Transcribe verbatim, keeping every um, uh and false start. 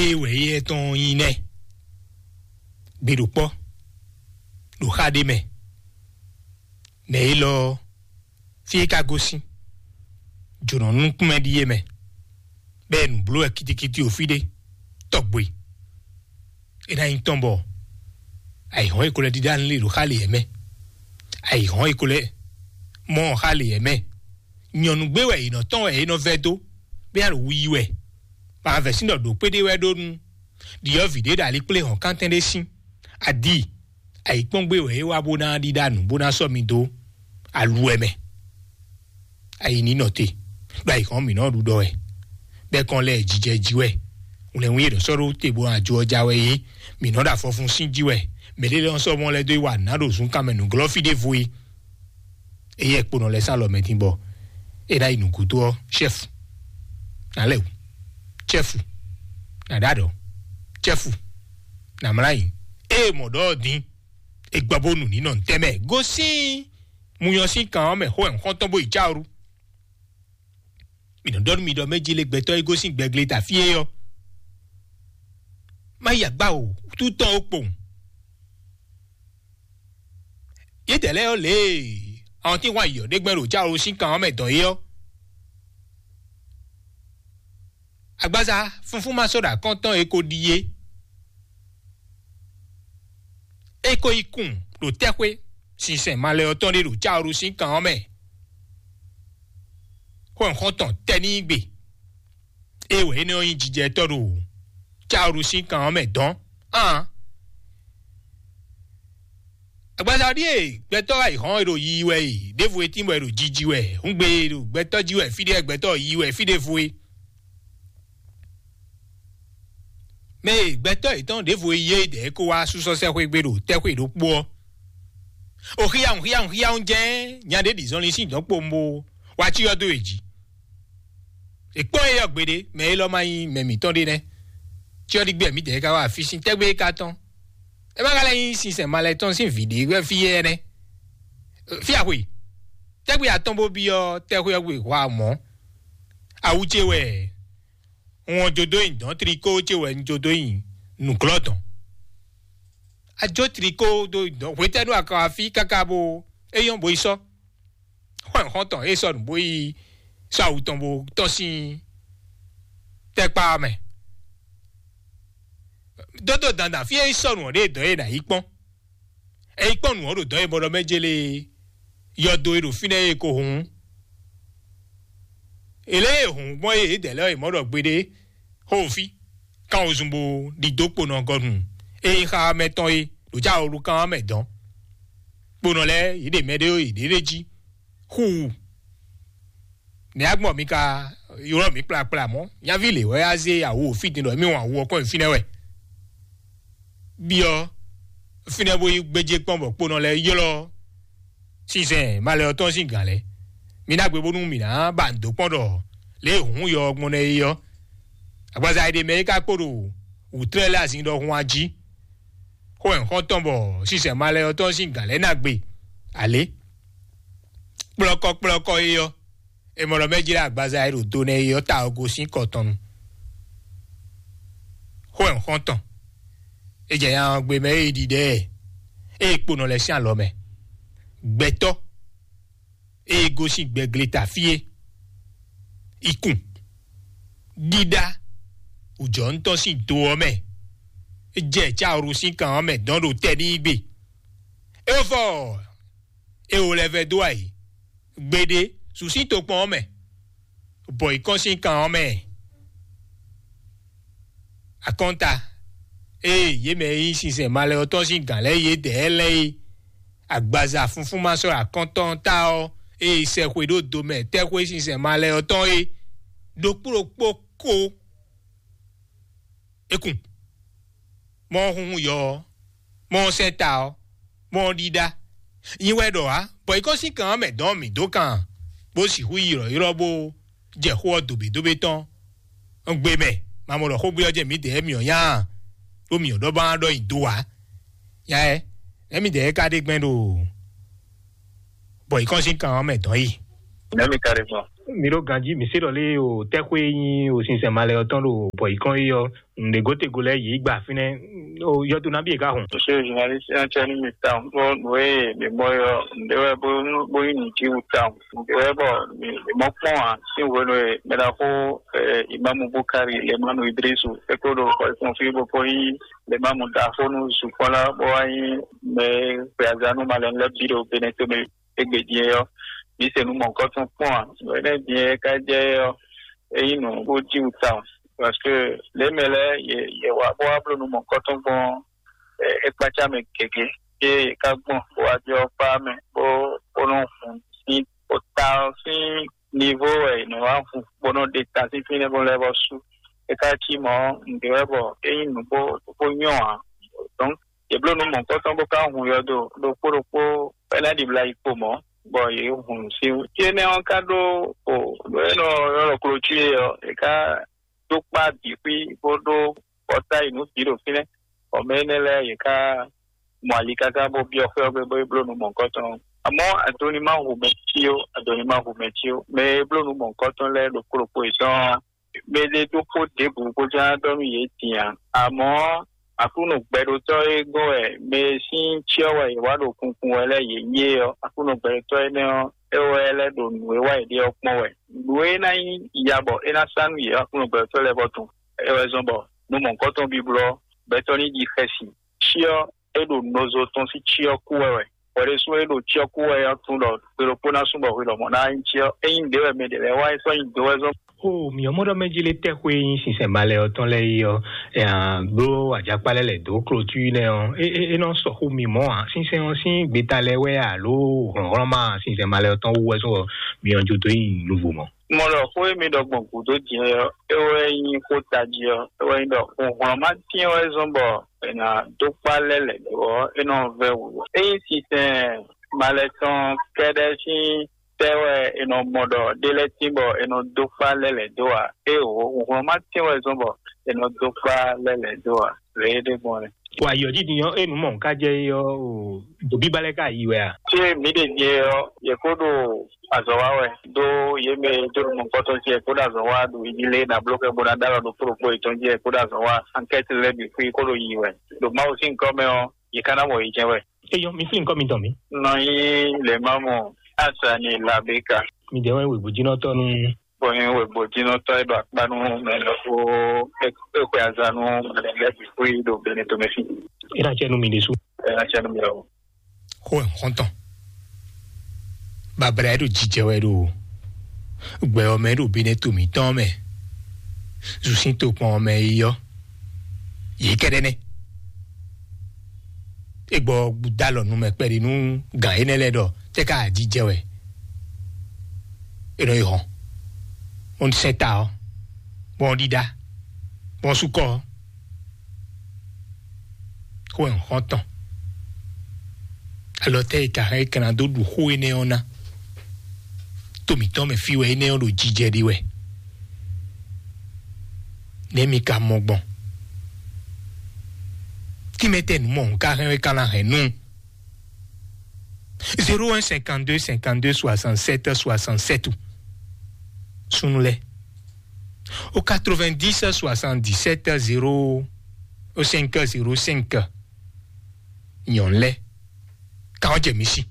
Ée wɛ éyɛ́ tɔn nyí nɛ́? Gbe ɖo kpɔ́, ɖo xá ɖé mɛ. Nɛ̌ élɔ́ ɔ́, fí é ka gosín, jǒnɔ nukúnmɛ ɖíe mɛ, bɔ é nǔ bló wɛ kitikiti ɖo fí ɖé, tɔgbe. É ná nyí tɔn bɔ ayǐhɔ́n e ko lɛ́ ɖíɖá nú lě ɖo xá lě mɛ, ayǐhɔ́n e ko lɛ́ mɔ xá lě mɛ. Nyɔ̌nu gbé wɛ è nɔ tɔ́n wɛ é nɔ vɛ́ dó, bó ná ɖo wu yi wɛ. Bɔ avɛ̌sín ɖɔ ɖǒ kpé ɖé wɛ ɖó nú ɖyɔ̌vǐ ɖé ɖo alikplé hɔ̌nkántɛn ɖé sín. Adi, ayǐkpɔ́ngbé wɛ é wá bó ná ɖíɖá nǔ bó ná sɔ́ mi dó aluwɛ mɛ. Ayi ní nɔ te, ɖo ayǐhɔ́n mǐ nɔ ɖu ɖɔ wɛ, bɔ é kɔn lɛ jijɛ jí wɛ. Wlɛ̌nwí e nɔ sɔ́ ɖó te bó ná jó ɔ́ já wɛ é, mǐ nɔ ɖo afɔfun sín jí wɛ. Mɛɖé lɔ sɔ́ mɔ lɛ́ dó yi wa nǎ ɖo zunkan mɛ nǔglɔ́ fí ɖěvo é. Éyɛ́ kponɔ lɛ́ɛ sán alɔ mɛ din bɔ é ná yi nǔgúdo ɔ́, chɛ́fu, nǎ lɛ wǔ, chɛ́fu, nǎ ɖó aɖɔ̌, chɛ́fu, nǎ mlá nyi. Ée mɔ̌ ɖɔ ɔ́ din, è gbɔ bónú ní nɔ ntɛ́ mɛ gosín munyɔ sín kan ɔ́ mɛ xó wɛ un xɔ́ntɔn bó yi cáwuru. Mǐ nɔ ɖɔ nú mi ɖɔ mɛ jí lé gbɛtɔ́ e gosín gbɛgle ta fí é ɔ́, má yi agbá o, tú tɔn ó kpowun. Yědɛɛ lɛ́ɛ ɔ́ lě e awɔntín hwan yɔ̌ ɖé gbɛ́ ɖo cáwolo sín kan ɔ́ mɛ dɔn é ɔ́, agbaza fúnfún ma sɔ́ ɖo akɔ́ntɔn e ko ɖíe. É ko yi kun ɖo tɛ́xwé sinsɛn malɛ ɔ́ tɔn ɖé ɖo cáwolo sín kan ɔ́ mɛ, xó xɔ́ntɔn tɛ́ n'i gbe. É wɛ énɛ́ ɔ́ nyí jijɛtɔ́ ɖo cáwolo sín kan ɔ́ mɛ dɔn. Aan, agbaza ɖíe gbɛtɔ́ wá yi hɔn e ɖo yiyi wɛ e, ɖěvo e tín bɔ è ɖo jiji wɛ, hǔngbe e ɖo gbɛtɔ́ jí wɛ fí ɖé, gbɛtɔ́ yiyi wɛ fí ɖěvo e. Mɛ e gbɛtɔ́ yětɔn ɖěvo e yí é dɛ̌ ko wá sú sɔ́ sɛ́ xwé gbe ɖo tɛ́xwé ɖokpó ɔ́, o xíyáhùn xíyáhùn xíyáhùn jɛ́n nya ɖé ɖi zɔnlin sín dɔ̌n kpowun bó wá cyɔ dó yě jí. È kpɔ́n éyɛ́ gbeɖé, mɛ élɔ́ ma nyí mɛ mǐtɔn ɖé nɛ́. Cyɔ ɖi gbé mǐdɛɛ ka wá afí sín tɛ́gbé é ka tɔ́n. É má ka lɛ́ nyí sinsɛn malɛ tɔn sín vǐ ɖé wɛ fí éyɛ́ nɛ́. Fí axwe, tɛ́gbé atɔn bó byɔ́ tɛ́xwé ɔ́ gbe hwa mɔ̌. Awu ce wɛ un wɔn jó dó nyi dɔ̌n, trikó ce wɛ un jó dó nyi nǔglɔ́ dɔ̌n. A jó trikó dó nyi dɔ̌n hwetɛ́nu a ka wá fí káká bó é nyɔ́ bó yi sɔ́. Xɔ́n xɔ́ntɔn é sɔ́ nǔ bó yi sɔ́ awu tɔn bó tɔ́n sín tɛ́kpá ɔ́ mɛ. Dódó dandan fí é yi sɔ́ nǔ ɔ́ ɖe dɔ̌n é nǎ yi kpɔ́n. É yi kpɔ́n nǔ ɔ́ ɖo dɔ̌n e mɔ ɖɔ mɛ jélé yɔdo e ɖo fínɛ́ é ko hǔn. È lě e hǔn gbɔn é yědɛɛ lɛ́ɛ è mɔ ɖɔ gbeɖé xó fí, kan wozun bó ɖidó kponɔ gɔnu e nyí xá mɛ tɔn é ɖo já wolu kan mɛ dɔn. Kponɔ lɛ́ɛ yě ɖe mɛ ɖé yě ɖe jí xú wú. Nɛ̌ agbɔn mi ka ylɔ́ mǐ kplakpla mɔ̌? Nyaví lě wɛ á zé awu fí din ɖɔ émí wɔn awu ɔ́ kɔn nyi fínɛ́ wɛ. Byɔ́ fínɛ́ bó yi gbéjé kpɔ́n bɔ kponɔ lɛ́ɛ ylɔ́ sinsɛn malɛ ɔ́ tɔn sín gǎn lɛ́ɛ. Mi ná gbe bónú mǐ ná ba nǔ dó kpɔ́n ɖɔ lě e hǔn yɔ ɔ́ gbɔn nɛ́ é ɔ́, agbaza e ɖe mɛ é ka kpo ɖo wǔtlɛ́ lɛ́ɛ azin ɖɔhun a jí. Xó wɛ un xɔ́n tɔn bɔ sinsɛn malɛ ɔ́ tɔn sín gǎn lɛ́ɛ ná gbe alě. Kplɔ́kɔ kplɔ́kɔ é ɔ́, è mɔ ɖɔ mɛ jlá agbaza e ɖo do nɛ é ɔ́ ta ɔ́ gosín kɔ tɔn nu. Xó wɛ un xɔ́n tɔn. É jɛ nya ɔ́ gbe mɛ é ɖiɖɛ ɛ, é kpo nɔ lɛ́ sín alɔ mɛ. Gbɛtɔ́ e gosín gbɛgleta fí é, ikun, ɖíɖá wǔjɔnútɔn sín do ɔ́ mɛ, é jɛ cáwuru sín kan ɔ́ mɛ dɔn ɖo tɛ n'i gbe. É fɔ é wo lɛ́ vɛ́ dó ayǐ gbeɖé, su sín tokpɔn ɔ́ mɛ, bɔ yi kɔn sín kan ɔ́ mɛ. Akɔnta, ée yě mɛ e nyí sinsɛn malɛ ɔ́ tɔn sín gǎn lɛ́ɛ yědɛɛ lɛ́ɛ é, agbaza funfún ma sɔ́ akɔntɔn ta ɔ́, ée sɛ xwe ɖó do mɛ tɛ́xwé sinsɛn malɛ ɔ́ tɔn é, ɖokpó ɖokpó ko é kun. Mɔ ɔ́ hunhun yɔ ɔ́, mɔ ɔ́ sɛ́ ta ɔ́, mɔ ɔ́ ɖíɖá. Nyi wɛ ɖɔ ǎ, bɔ yi kɔn sín kan ɔ́ mɛ dɔn mǐ dó kan, bó sixú yi ylɔ̌ylɔ́ bó jɛ xó ɔ́ dobědobě tɔn. Un gbe mɛ, ma mɔ ɖɔ xógbé ɔ́ jɛ mǐdɛɛ mǐ ɔ́ nya a? Ɖó mǐ ɔ́ ɖɔ bá ɖɔ nyi do ǎ. Nya ɛ, nɛ̌ mǐdɛɛ ka ɖe gbɛn ɖo bɔ yi kɔn sín kan ɔ́ mɛ dɔn yi? Nɛ̌ mi ka ɖe gbɔn? Mi ɖo ganjí, mi se ɖɔ lé o tɛxwé e nyí o sinsɛn malɛ ɔ́ tɔn ɖo bɔ yǐ kɔn é ɔ́, nǔɖé gotego lɛ́ɛ yě gba fínɛ́. O yɔdo nabí e ka hɔn. Monsieur le journaliste, un tiens une mi mɔ yɔ nɖe wɛ bó bó yi nù jí wú tawun. Nɖe wɛ bɔ mi mɔ kpɔn a si wenu e mɛ ɖaxó imamu bukari le manu idrisu eko ɖo xɔ fɔn fi bó ko yi le mamu ɖaxó nu zukpɔla bó wá yi mɛ gbɛazanu malɛ lɛ bi ɖo benetome egbe din yɔ. Mi se nu mɔnkɔtɔn kpɔn a wɛnɛ din yɛ ka jɛ yɔ eyi nù bó jí wú tawun. Parce que lě mɛ lɛ́ɛ yě yě wá bó wá bló nú mɔ̌hunkɔtɔn gbɔn é kpácá mɛ gěgé, yé yě ká gbɔn bó wá jɔ kpá mɛ bó bó nɔ hun sín bó ta ɔ́ sín nivo wɛ è nɔ wá hun bó nɔ ɖe ta sín fínɛ́ bó lɛ́ vɔ sú. É ká cí mɔ̌ nǔɖé wɛ bɔ é nyí nǔ bó bó nyɔ́ ǎ. Donc yě bló nú mɔ̌hunkɔtɔn bó ká hun yɔdo ɖokpó ɖokpó bɔ é ná ɖibla yi kpo mɔ̌, bɔ yě hun nǔ sín wú. Énɛ́ ɔ́ ka ɖó o nǔ e nɔ ylɔ́ ɖɔ klocúe ɔ́, è ká dó kpá bǐ xwí bó ɖó kɔta yi nǔ bǐ ɖo fínɛ́. Bɔ mɛ énɛ́ lɛ́ɛ yě ká mɔ ali káká bó byɔ́ xwé ɔ́ gbe bó yi bló nú mɔ̌hunkɔtɔn. Amɔ̌ adoni ma hu mɛ cí ó, adoni ma hu mɛ cí ó. Mɛ e bló nú mɔ̌hunkɔtɔn lɛ́ɛ ɖokpó ɖokpó yětɔn ɔ́, mɛ ɖé ɖokpó ɖěbǔ bó ján ɖɔ nú yě din ǎ. Amɔ̌ Aklúnɔ gbɛɖotɔ́ e gɔ́n wɛ mɛ e sín cyɔ wɛ è wá ɖo kunkun wɛ lɛ́ɛ yě nyí é ɔ́, Aklúnɔ gbɛɖotɔ́ énɛ́ ɔ́, é wɛ lɛ́ ɖo nǔ e wa yě ɖe ɔ́ kpɔ́n wɛ. Nǔ e ná nyí ya bɔ é ná sá nú yě Aklúnɔ gbɛɖotɔ́ lɛ́ɛ vɔ tɔn, é wɛ zɔ́n bɔ nú mɔ̌hunkɔtɔn biblɔ gbɛtɔ́ ní ɖi xɛsi. Cyɔ é ɖo nɔzo tɔn sín cyɔ kú wɛ wɛ. Bɔ ɖésú é ɖo cyɔ kú wɛ ɔ́ tunwun ɖɔ gbe ɖokpó ná sú bɔ hwi lɔmɔ̌ ná nyí cyɔ. Ényí nǔɖé wɛ mɛ ɖě lɛ́ɛ wá é sɔ́ nyi do wɛ zɔ́n. Xó mǐ ɔ́ mɔ ɖɔ mɛ jí lé tɛ́ xwé nyí sinsɛn malɛ ɔ́ tɔn lɛ́ɛ yi ɔ́, ɛ, bló ajakpa lɛ́ɛ lɛ dǒ klotú nɛ́ ɔ́, é é é nɔ sɔ xó mi mɔ̌ ǎ. Sinsɛn ɔ́ sín gbeta lɛ́ɛ wɛ alo hlɔ̌nhlɔ́n ma sinsɛn malɛ ɔ́ tɔn wú wɛ sɔ́ mǐ ɔ́ jó dó nyi nuvo mɔ̌. Mɔ ɖɔ xó e mi ɖɔ gbɔn gǔdo din ɔ́, é wɛ nyí xó tají ɔ́, é wɛ nyí ɖɔ hǔnhlɔ́n ma tɛ́n wɛ zɔ́n bɔ è nǎ dó kpá lɛ́ lɛ̌ dó ɔ́, é nɔ vɛ́ wǔ. Ényí sinsɛn malɛ tɔn kɛ́ɖɛ́ sín tɛ́ wɛ è nɔ mɔ ɖɔ ɖé lɛ́ɛ tín bɔ è nɔ dó kpá lɛ́ lɛ̌ dó ǎ. Éeǒ, hǔnhlɔ́n ma tɛ́n wɛ zɔ́n bɔ è nɔ dó kpá lɛ́ lɛ̌ dó ǎ. Lě é ɖe gbɔn nɛ́. Wa yɔ dídí ɔ́, é nǔ mɔ nǔ ká jɛ é ɔ́, o, ɖo bíbá lɛ́ɛ ká yi wɛ a? Tí mǐ ɖe nyɛ ɔ́, yě kó ɖo azɔ̌ wa wɛ, ɖó yě mɛ e dó ɖo mɔ̌hunkɔtɔn ce kó ɖo azɔ̌ wa ɖo yi lé ná bló kɛ bó ná ɖó alɔ ɖo kpóɖokpó yětɔn jí kó ɖo azɔ̌ wa ankɛ́ti lɛ́ɛ bǐ xwí kó ɖo yi wɛ. Ɖo Mawu sín gɔ́ mɛ ɔ́, yě ká ná mɔ yi jɛ́n wɛ. Eyɔ, mi flín nukɔn mitɔn mi. Nɔ nyí lě ma mɔ Asani Labeka. Mi jẹ́ wɛn wěgbójínɔtɔ́ nú. Bɔ nyɛ wɛ gbɔjínɔtɔ́ e ɖo akpá nú mɛ lɔ kó é xwe aza nú mɛ lɛ́ɛ bǐ xwé ɖo Benetɔmɛfí. É ná cɛ nú mi ɖésú. É ná cɛ nú mi lɔ. Xó ɛ xɔntɔn. Babla e ɖo jijɛ wɛ ɖo gbɛ ɔ́ mɛ ɖo Benetɔmítɔn mɛ. Zu sín tokpɔn ɔ́ mɛ yi ɔ́. Yě kɛɖɛ́ nɛ́. Egbɔ dalɔ nu mɛ kpɛɖi nú gǎn énɛ́ lɛ́ɛ ɖɔ tɛ́ ká ajijɛ wɛ. È nɔ yi hɔn. Bɔn sɛn ta ɔ́, bɔn ɖíɖá, bɔn sukɔ ɔ́. Xó ɛ xɔn tɔn. Alɔ tɛ́ e ka hɛn é ka ná dó ɖu xó énɛ́ ɔ́ ná? To mǐtɔn mɛ fí wɛ énɛ́ ɔ́ ɖo jijɛ ɖi wɛ. Nɛ̌ mi ka mɔ gbɔn? Tínmɛ tɛ nǔ mɔ un ka hɛn é ka ná hɛn nú? Zéro un cinquante-deux cinquante-deux soixante-sept soixante-sept. Súnnu lɛ́ɛ. Au quatre-vingt-dix soixante-dix-sept zéro cinq zéro cinq. Nyɔ̌nu lɛ́ɛ. Kan ɔ́ jɛ mǐ sí.